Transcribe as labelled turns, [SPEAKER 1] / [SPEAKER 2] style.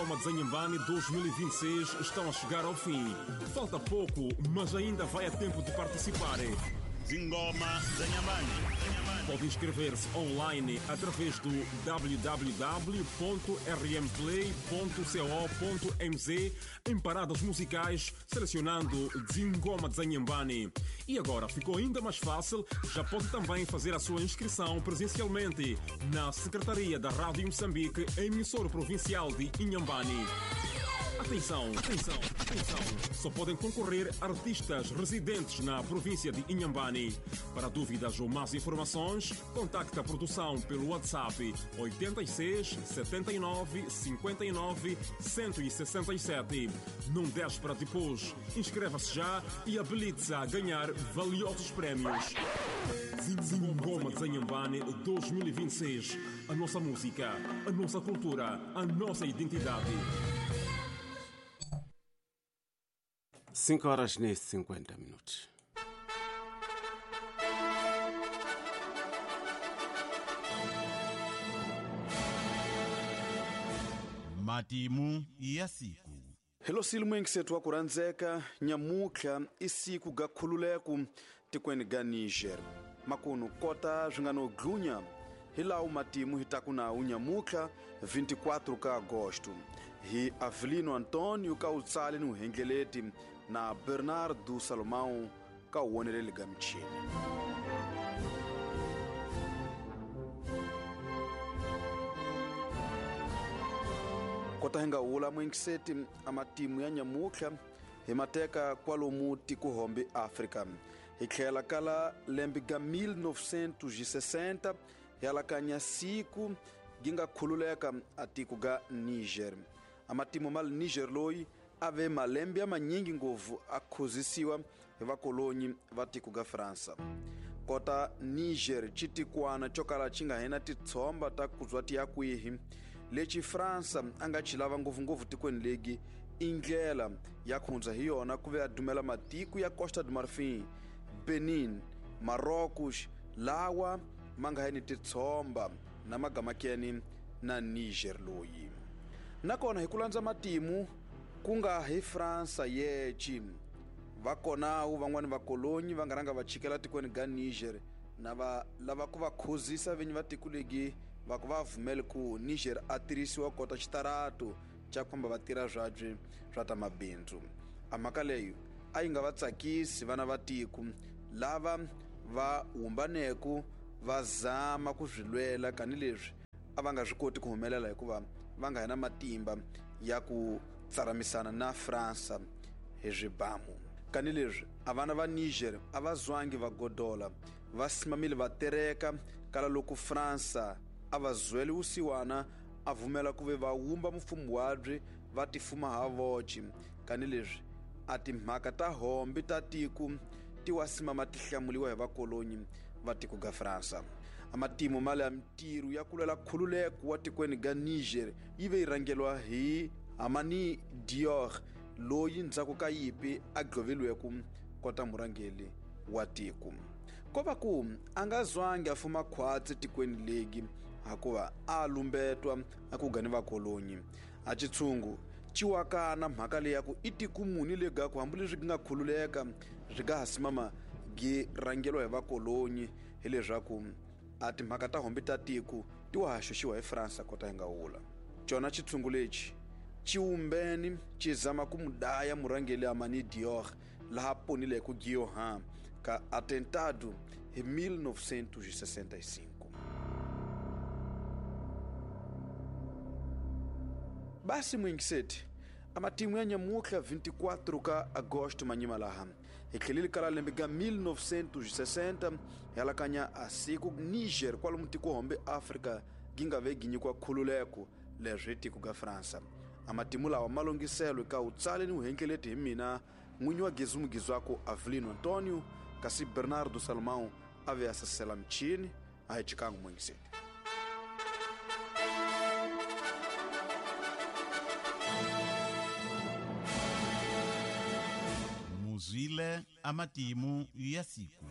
[SPEAKER 1] Zingoma de Inhambane 2026 estão a chegar ao fim. Falta pouco, mas ainda vai a tempo de participar.
[SPEAKER 2] Zingoma za Inhambane.
[SPEAKER 1] Pode inscrever-se online através do www.rmplay.co.mz em paradas musicais, selecionando Zingoma de Inhambane. E agora ficou ainda mais fácil, já pode também fazer a sua inscrição presencialmente na Secretaria da Rádio Moçambique, emissora provincial de Inhambane. Atenção, atenção, atenção! Só podem concorrer artistas residentes na província de Inhambane. Para dúvidas ou mais informações, contacte a produção pelo WhatsApp 86 79 59 167. Não deixe para depois. Inscreva-se já e habilite-se a ganhar valiosos prémios. Zingoma de Inhambane 2026. A nossa música, a nossa cultura, a nossa identidade.
[SPEAKER 3] 5 horas e 50 minutos.
[SPEAKER 2] Matimu ya siku.
[SPEAKER 4] Helo silimwenkisethu wa kurhandzeka nyamutlha i siku ga khululeku tikweni ga Niger. Makunu kota swi nga no dlunya hi lawu matimu hi taku nawu nyamutlha 24 ka agosto hi Avelino Antonio ka utsali ni uhengeleti na Bernardo Salomão ka uwoneleli ga michini. Kota hi nga wula mwengiseti a matimu ya nyamutlha hi mateka kwalomu tikuhombe Afrika. Hi tlhela kala lembe ga 1960 hi alakanya siku gi nga khululeka a tiko ga Niger. A matimu ma Niger loyi a ve malembe ya manyingi ngopfu a khuzisiwa hi vakolonyi va tiko ga Fransa. Kota Niger xitikwana xo kala xi nga hina titshomba ta kuzwa ti ya kwihi lexi Fransa a nga xi lava ngopfungopfu tikweni legi i ndlela ya khundza hi yona ku ve a dumela matiko ya Costa do Marfin, Benin, Marrocos lawa ma nga ni titshomba na magamakeni na Niger loyi. Nakona hi ku landza matimu ku nga hi Fransa yeci va konawu van'wani vakolonyi va nga rhanga va chikela tikweni ga Niger na va lava ku va khuzisa vinyi va tiko legi va ku va vumeli ku Niger a tirhisiwa kota xitarato xa ku famba va tirha swabye swa ta mabindzu. A mhaka leyo a yi nga va tsakisi vana va tiko lava va humbaneku va zama ku swi lwela kanileswi a va nga swi koti ku humelela hikuva va nga hina matimba ya ku tsaramisana na Fransa hi swibamu. Kanileswi a vana va Niger a va zwangi va godola va simamile va tereka kala loko Fransa a va zwele wusiwana a vumela ku ve va wumba mfumo wabye va tifuma ha voci. Kanileswi a timhaka ta hombe ta tiko ti wa simama ti hlamuliwa hi vakolonyi va tiko ga Fransa. A matimu mali ya mintirho ya ku lwela khululeko wa tikweni ga Niger yi ve yi rhangelwa hi Hamani Dior loyi ndzhaku ka yipi a gloveliweku kota murhangeli wa tiko. Ko va ku a nga zwangi a fuma khwatsi tikweni legi hakuva a lumbetwa a ku gani vakolonyi. A xitshungu ciwakana mhaka leyi ya ku i tiko muni legaku hambileswi gi nga khululeka swi nga ha simama gi rhangeliwa hi vakolonyi hileswaku a timhaka ta hombe ta tiko ti wa ha xoxiwa hi Fransa kota hi nga wula. Cona xitshungu lexi xiwumbeni xi zama ku mudaya murhangeli Hamani Dior laha ponileke Guillaume ka atentado hi 1965. Basi mwingiseti a matimu ya nyamutlha 24 ka agosto manyima laha hi tlheleli kala lembe ga 1960 hi alakanya a siku Niger kwalomu tiko hombe Afrika gi nga ve gi nyikiwa khululeko leswi hi tiko ga Fransa. A matimu lawa ma longiselwe ka utsali ni uhengeleti hi mina n'winyi wa Gezu Mugizwako Avelino Antonio kasi Bernardo Salomão a ve a sasela michini a hi chikangu mwingiseti.
[SPEAKER 2] Muzwile amatimu ya siku.